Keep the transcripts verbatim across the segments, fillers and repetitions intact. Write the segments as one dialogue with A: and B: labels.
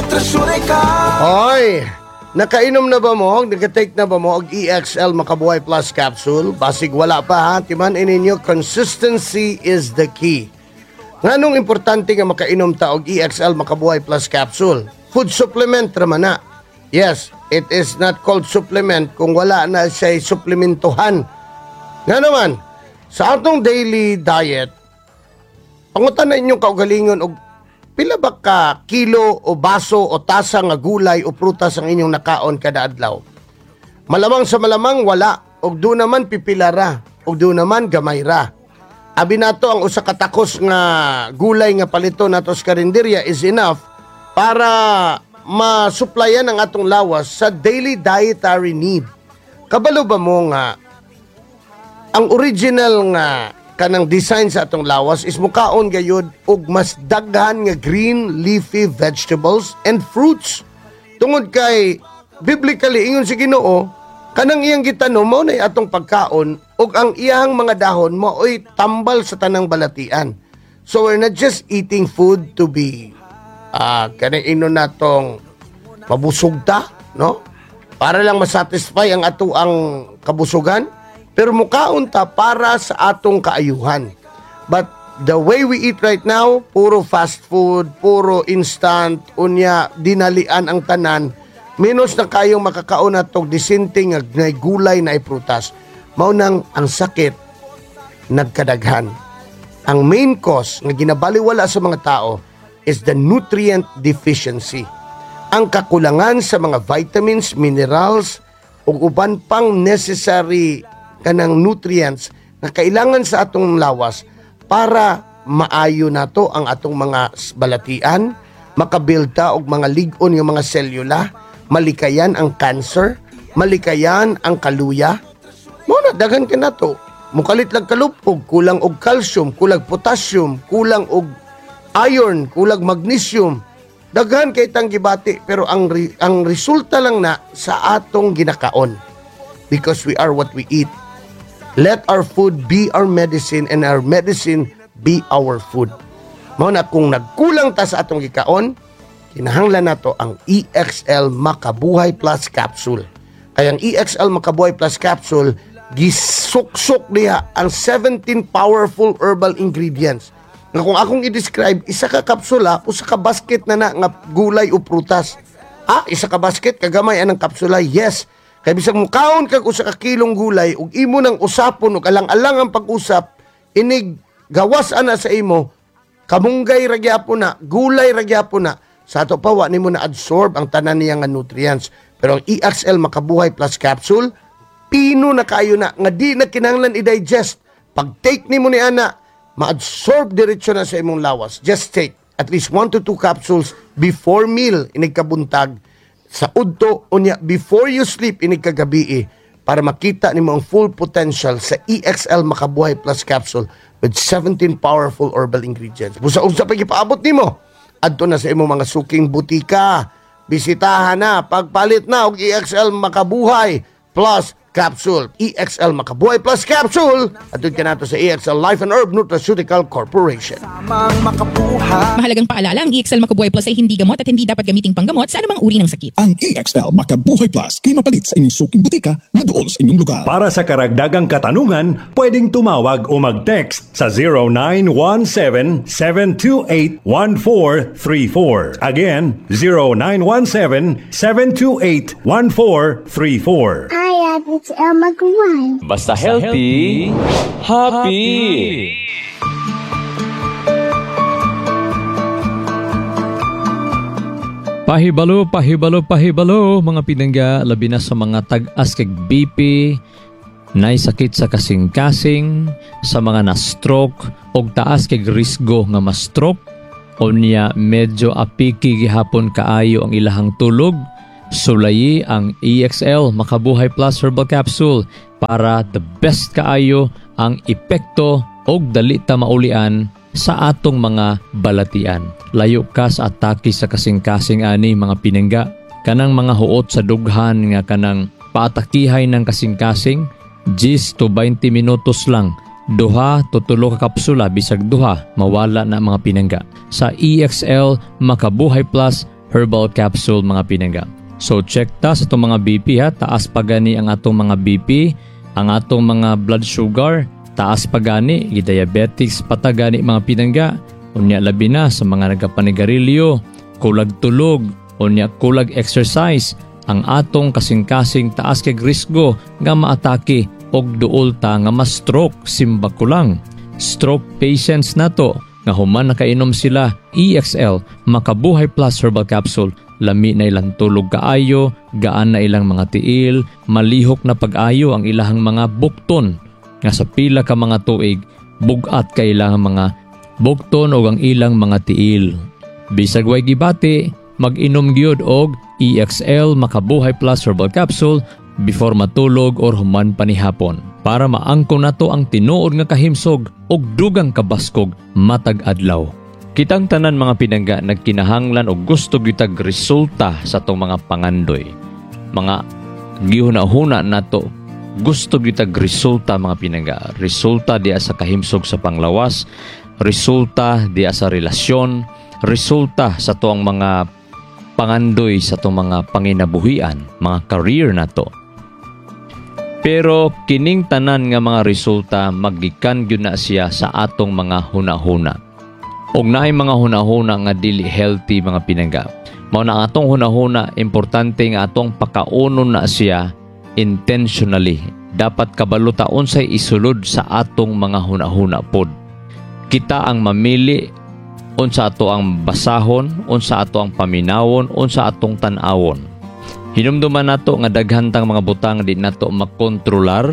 A: Nutraceutical
B: Hoy, nakainom na ba mo? Naka-take na ba mo og E X L Makabuhay Plus capsule? Basig wala pa ha. Timan ninyo, consistency is the key. Nganong importante nga makainom ta og E X L Makabuhay Plus capsule? Food supplement raman na. Yes, it is not called supplement kung wala na siya suplementuhan. Nga naman, sa atong daily diet, pangutan na inyong kaugalingon og pila ba ka kilo o baso o tasa nga gulay o prutas ang inyong nakaon kada adlaw. Malamang sa malamang wala, og do naman pipila ra, og do naman gamay ra. Abi nato ang usa ka takos nga gulay nga palito nato sa karinderya is enough para masuplayan ang atong lawas sa daily dietary need. Kabalo ba mo nga ang original nga kanang design sa atong lawas is mukaon gayud og mas daghan nga green leafy vegetables and fruits, tungod kay biblically ingon si Ginoo, kanang iyang gitanom mao na atong pagkaon ug ang iyang mga dahon mao'y tambal sa tanang balatian. So we're not just eating food to be ah kanang ino natong mabusog ta, no, para lang masatisfy ang ato ang kabusugan, pero mukaon ta para sa atong kaayuhan. But the way we eat right now, puro fast food, puro instant, unya dinalian ang tanan, menos na kayong makakaon natog disente nga nay gulay na prutas. Mao nang ang sakit nagkadaghan. Ang main cause nga ginabaliwala sa mga tao is the nutrient deficiency. Ang kakulangan sa mga vitamins, minerals, ug uban pang necessary kanang nutrients na kailangan sa atong lawas para maayo nato ang atong mga balatian, makabuild ta og mga lig-on nga mga selula, malikayan ang cancer, malikayan ang kaluya. Mao na daghan ka nato. Mukalit lang kalupog, kulang og calcium, kulang potassium, kulang og iron, kulang magnesium. Daghan kay tang gibati, pero ang re- ang resulta lang na sa atong ginakaon. Because we are what we eat. Let our food be our medicine and our medicine be our food. Mao na kung nagkulang ta sa atong gikaon, kinahanglan nato ang E X L Makabuhay Plus capsule. Kaya ang E X L Makabuhay Plus capsule, gisuksok niya ang seventeen powerful herbal ingredients. Nga kung akong i-describe, isa ka kapsula, usa ka basket na na nga gulay o prutas. Ah, isa ka basket, kagamay anang kapsula? Yes. Kay bisag mukaon kag usa ka kilong gulay ug imo nang usapon ug alang-alang ang pag-usap, inig gawas ana sa imo, kamunggay ra gyapon na, gulay ra gyapon na. Sa ato pa wa nimo na absorb ang tanan niya nga nutrients. Pero ang E X L Makabuhay Plus capsule, pino na kayo na nga di na kinahanglan i-digest. Pag take nimo ni ana, ma-absorb diretso na sa imong lawas. Just take at least one to two capsules before meal inig kabuntag, sa udto, unya before you sleep inig kagabi, para makita nimo ang full potential sa E X L Makabuhay Plus capsule with seventeen powerful herbal ingredients. Busa unsa pa gipaabot nimo? Adto na sa imong mga suking butika. Bisitahan na, pagpalit na og E X L Makabuhay Plus capsule. E X L Makabuhay Plus capsule. Adto ka nato sa E X L Life and Herb Nutraceutical Corporation.
A: Tamang makabuhay.
C: Mahalagang paalala, ang E X L Makabuhay Plus ay hindi gamot at hindi dapat gamiting panggamot sa anumang uri ng sakit.
D: Ang E X L Makabuhay Plus kay mapalit sa inyong suking butika na duol sa inyong lugar.
E: Para sa karagdagang katanungan, pwedeng tumawag o mag-text sa zero nine one seven, seven two eight, one four three four. Again, zero nine one seven, seven two eight, one four three four.
F: Hi, it's Elma Guan.
G: Basta healthy, happy.
H: Pahibalo, pahibalo, pahibalo, mga pinangga, labi na sa mga tag-as kag B P, nay sakit sa kasing-kasing, sa mga na-stroke, og taas kag risgo nga ma-stroke, unya medyo apiki gihapon kaayo ang ilahang tulog, sulayi ang E X L Makabuhay Plus Herbal Capsule para the best kaayo ang epekto og dali ta maulian sa atong mga balatian. Layo ka sa atake sa kasing-kasing ani, mga pinangga. Kanang mga huot sa dughan nga kanang paatakihay ng kasing-kasing, ten to twenty minutos lang. Duha to tulo ka kapsula, bisag duha, mawala na, mga pinangga. Sa E X L Makabuhay Plus Herbal Capsule. Herbal Capsule, mga pinangga. So check ta sa atong mga B P ha, taas pa gani ang atong mga B P, ang atong mga blood sugar, taas pa gani, diabetics pa ta gani, mga pinangga. Unya labi na sa mga nagapanigarilyo, kulag tulog, unya kulag exercise, ang atong kasing-kasing taas kay risgo nga maatake og duol ta nga ma-stroke, simba ko lang. Stroke patients nato nga human nakainom sila E X L Makabuhay Plus Herbal Capsule, lami na ilang tulog kaayo, gaan na ilang mga tiil, malihok na pag-ayo ang ilahang mga bukton nga sa pila ka mga tuig bugat kay ilang mga bukton o ang ilang mga tiil. Bisag way gibati, mag-inom gyud og E X L Makabuhay Plus Herbal Capsule before matulog or human panihapon para maangko nato ang tinuod nga kahimsog og dugang kabaskog matag adlaw. Kitang tanan, mga pinangga, nagkinahanglan og gusto gyud resulta sa atong mga pangandoy. Mga gihuna-huna nato, gusto gyud resulta, mga pinangga. Resulta diya sa kahimsog sa panglawas, resulta diya sa relasyon, resulta sa tuang mga pangandoy, sa atong mga panginabuhian, mga career nato. Pero kining tanan nga mga resulta magikan gyud na siya sa atong mga hunahuna. Og naay mga hunahuna nga dili healthy, mga pinangga. Mao na ang atong hunahuna, importante nga atong pakaunon na siya intentionally. Dapat kabalo ta unsay isulod sa atong mga hunahuna pod. Kita ang mamili unsa ato ang basahon, unsa ato ang paminawon, unsa atong tan-awon. Hinumduman nato nga daghan tang mga butang di nato makontrolar,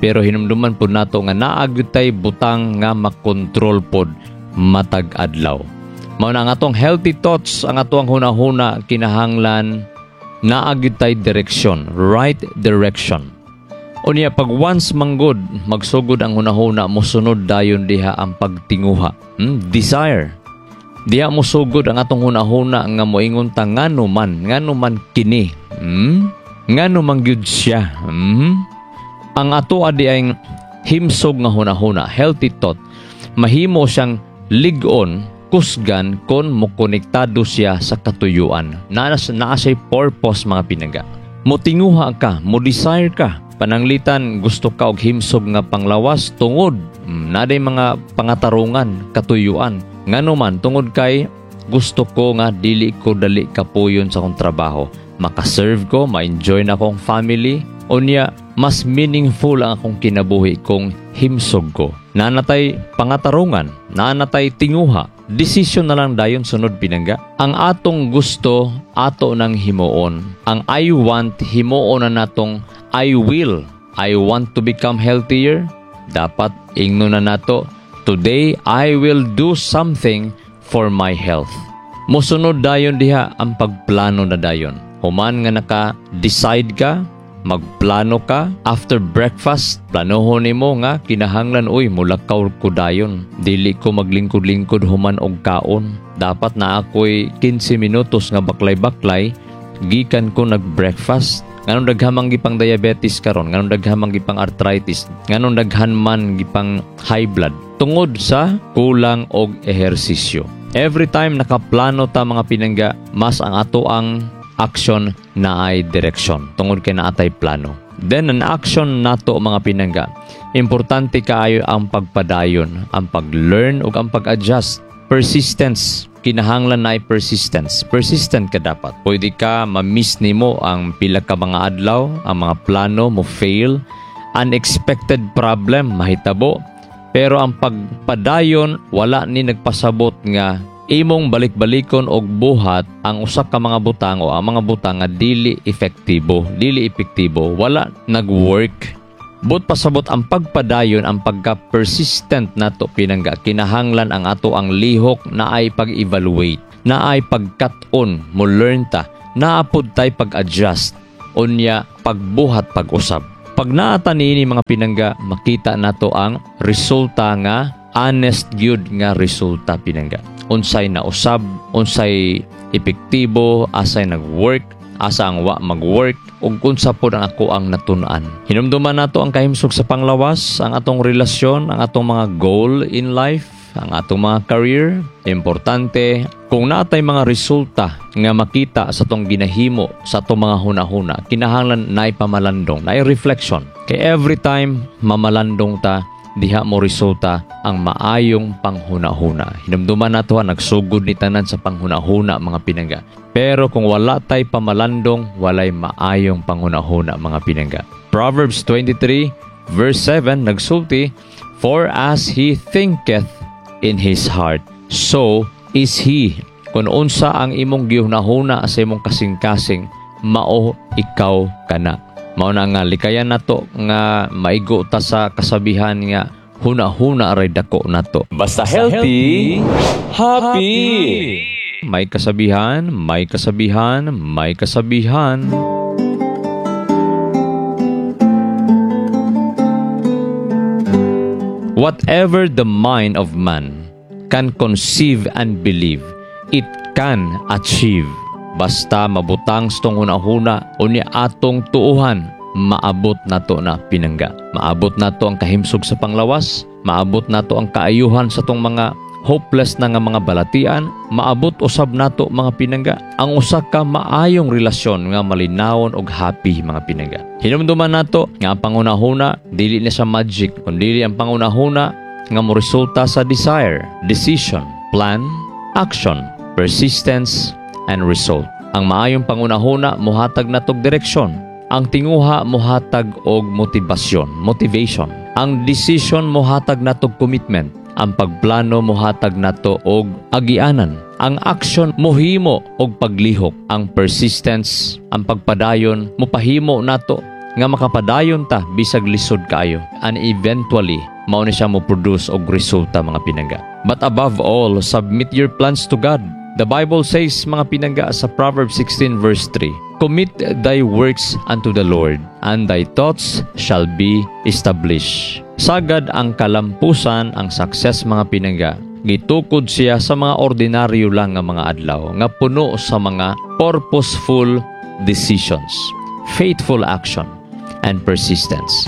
H: pero hinumduman pod nato nga naa gyud tay butang nga makontrol pod matag adlaw. Mao na ang atong healthy thoughts, ang atong hunahuna kinahanglan naa gyud tay direksyon, right direction. Unya pag once manggod magsugod ang hunahuna, mosunod dayon diha ang pagtinguha, hmm? Desire. Diha mosugod ang atong hunahuna nga moingon ta, "Ngano man, ngano man kini? Hmm? Ngano man gyud siya? Hmm?" Ang ato adi ang himsog nga hunahuna, healthy thought, mahimo siyang lig-on, kusgan kon mokonektado siya sa katuyuan. Naa naa siya'y purpose, mga pinangga. Motinguha ka, mo desire ka. Pananglitan gusto ka og himsog nga panglawas tungod mm, naa mga pangatarungan, katuyuan. Ngano man? Tungod kay gusto ko nga dili ko dali kapuyon sa akong trabaho. Makaserve ko, ma-enjoy na akong family. Unya, mas meaningful ang akong kinabuhi kung himsog ko. Naa na tay pangatarungan, naa na tay tinguha. Desisyon na lang dayon sunod, pinangga. Ang atong gusto, ato nang himuon. Ang "I want", himuon na natong "I will". I want to become healthier. Dapat ingno na nato, "Today I will do something for my health." Mosunod dayon diha ang pagplano na dayon. Human nga naka-decide ka, magplano ka, after breakfast, planohon nimo nga kinahanglan, "Uy, mulakaw ko dayon. Dili ko maglingkod-lingkod human og kaon. Dapat na ako'y kinse minutos nga baklay-baklay gikan ko nag-breakfast." Nganong daghan man gipang diabetes karon, nganong daghan man gipang arthritis, nganong daghan man gipang high blood? Tungod sa kulang og ehersisyo. Every time nakaplano ta, mga pinangga, mas ang ato ang action naay direksyon tungod kay naa tay plano. Then an action nato, mga pinangga, importante kaayo ang pagpadayon, ang pag-learn ug ang pag-adjust. Persistence, kinahanglan na ay persistence. Persistent ka dapat. Pwede ka ma-miss nimo ang pila ka mga adlaw, ang mga plano mo fail, unexpected problem mahitabo. Pero ang pagpadayon, wala ni nagpasabot nga imong balik-balikon og buhat ang usa ka mga butang o ang mga butang nga dili epektibo, dili epektibo, wala nag-work. But pasabot ang pagpadayon, ang pagka-persistent nato, pinangga, kinahanglan ang ato ang lihok naay pag-evaluate, naay pagkat-on, mo learn ta, naa pod tay pag-adjust, unya pagbuhat pag-usab. Pag naa ta niini, mga pinangga, makita nato ang resulta nga honest gyud nga resulta, pinangga. Unsay nausab, unsay epektibo, asay nag-work, asa ang wa mag-work, ug unsa pod ang ako ang natun-an. Hinumduman nato ang kahimsog sa panglawas, ang atong relasyon, ang atong mga goal in life. ang atong mga career, importante kung natay mga resulta nga makita sa atong ginahimo sa atong mga hunahuna, kinahanglan naay pamalandong, naay reflection. Kay every time mamalandong ta, diha mo resulta ang maayong panghunahuna. Hinumduman nato ha, nagsugod ni tanan sa panghunahuna mga pinangga. Pero kung wala tay pamalandong, walay maayong panghunahuna mga pinangga. Proverbs twenty-three verse seven nagsulti, "For as he thinketh in his heart, so is he." Kung unsa ang imong gihunahuna sa imong kasing-kasing, mao ikaw kana. Mao na nga likayan nato nga maigo ta sa kasabihan nga huna-huna ray dako nato.
G: Basta healthy, happy.
H: May kasabihan, may kasabihan, may kasabihan. Whatever the mind of man can conceive and believe, it can achieve. Basta mabutang sa tong hunahuna o ni atong tuuhan, maabot nato na pinangga. Maabot nato ang kahimsog sa panglawas, maabot nato ang kaayuhan sa tong mga hopeless na nga mga balatian, maabot usab nato mga pinangga ang usa ka maayong relasyon nga malinawon og happy mga pinangga. Hinumduman nato nga ang pangunahuna dili na sa magic, kundi ang pangunahuna nga moresulta sa desire, decision, plan, action, persistence, and result. Ang maayong pangunahuna mohatag natog direksyon. Ang tinguha mohatag og motibasyon, motivation. Ang decision mohatag natog commitment. Ang pagplano mohatag nato og agianan. Ang action mohimo og paglihok. Ang persistence, ang pagpadayon mopahimo nato nga makapadayon ta bisag lisod kaayo. And eventually, mao ni siya mo produce og resulta mga pinangga. But above all, submit your plans to God. The Bible says mga pinangga sa Proverbs sixteen verse three, "Commit thy works unto the Lord, and thy thoughts shall be established." Sagad ang kalampusan, ang success mga pinangga, gitukod siya sa mga ordinaryo lang nga mga adlaw, nga puno sa mga purposeful decisions, faithful action, and persistence.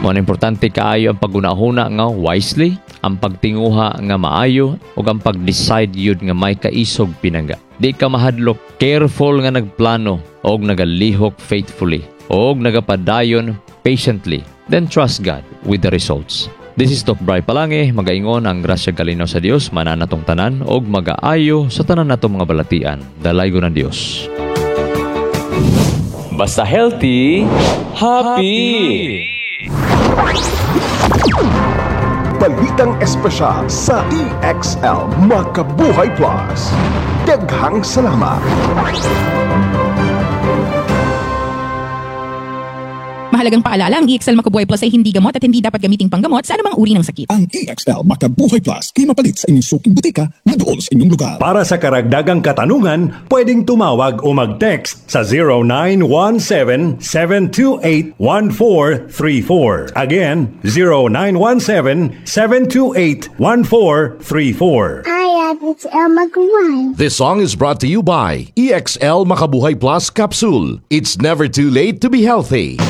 H: Mo na importante kaayo ang pagunahuna nga wisely, ang pagtinguha nga maayo, ug ang pag-decide yun nga may kaisog pinangga. Di ka mahadlok, careful nga nagplano, og nagalihok faithfully, og nagapadayon patiently. Then trust God with the results. This is Doc Bry Palange, magaingon ang grasya kalinaw sa Dios, mananatong tanan, og magaayo sa tanan natong mga balatian. Dalaygon ang Dios.
G: Basta healthy, happy.
D: Balitang espesyal sa E X L Makabuhay Plus. Daghang salamat.
C: Mahalagang paalala, ang E X L Makabuhay Plus ay hindi gamot at hindi dapat gamiting panggamot sa anumang uri ng sakit.
D: Ang E X L Makabuhay Plus kay mapalit sa inyong suking butika na dool sa inyong lugar.
E: Para sa karagdagang katanungan, pwedeng tumawag o mag-text sa zero nine one seven, seven two eight, one four three four. Again, zero nine one seven, seven two eight, one four three four.
F: I am E X L Makabuhay.
I: This song is brought to you by E X L Makabuhay Plus Capsule. It's never too late to be healthy.